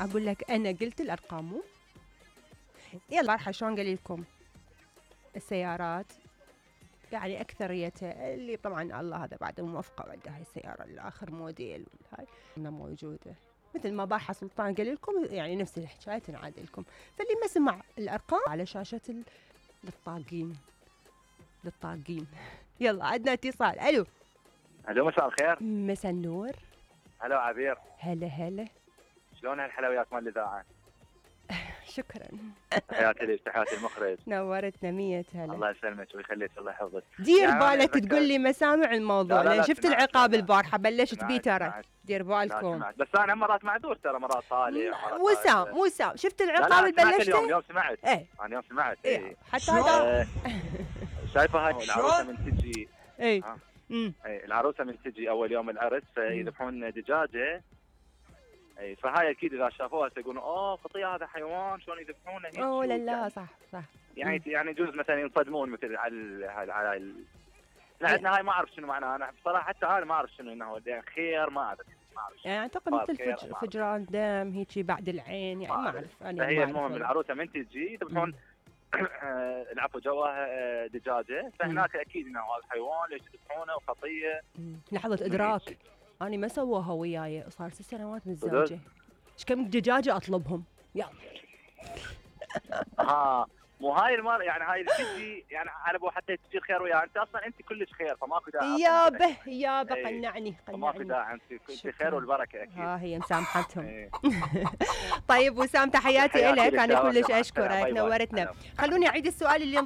اقول لك انا قلت الارقام مو يلا راح شلون قال لكم السيارات يعني اكثريتها اللي طبعا الله هذا بعد موفقه عنده هاي السياره الاخر موديل والهاي موجوده مثل ما باحة سلطان قال لكم يعني نفس الحكايه تنعاد لكم. فاللي ما سمع الارقام على شاشه للطاقين يلا عندنا اتصال. الو مساء الخير. مساء النور. هلا عبير. هلا شلون هالحلويات مال الاذاعه؟ شكرا. تحياتي لك تحياتي المخرج. نورتنا 100 هلا. الله يسلمك ويخليك الله يحفظك. دير بالك تقول لي مسامع الموضوع. لا شفت العقاب البارحه بلشت بيه ترى. دير بالكم. بس انا مرات معذور ترى مرات طالع. وسام شفت العقاب اللي بلشته؟ اليوم سمعت. ايه انا اليوم سمعت. ايه حتى هذا شايفه هاي العروسه من تجي. ايه العروسه من تجي اول يوم العرس فيذبحون دجاجه. اي فهاي اكيد اذا شافوها سيقولون اوه خطيه هذا حيوان شلون يذبحونه هيك. اوه لا صح يعني يجوز مثلا ينصدمون مثل على عندنا هاي ما اعرف شنو معناها. انا بصراحه حتى انا ما اعرف شنو انه خير ما اعرف. يعني اعتقد مثل فجران دم هيك بعد العين يعني ما اعرف انا. هي المهم العروسه من تجي يذبحون العفو جواها دجاجه فهناك اكيد انه هذا حيوان ليش يذبحونه وخطيه. لحظه ادراك أنا ما سووها وياي صار 6 سنوات متزوجة. إيش كم دجاجة أطلبهم يلا. مو هاي المرة يعني هاي اللي تجي يعني على بو حتى تجي خير وياها انت اصلا انت كلش خير فماكو داعي. يابا قنعني ماكو داعي انت خير والبركة اكيد. هي مسامحتهم. طيب وسام تحياتي لك انا كلش اشكرك نورتنا. خلوني اعيد السؤال اللي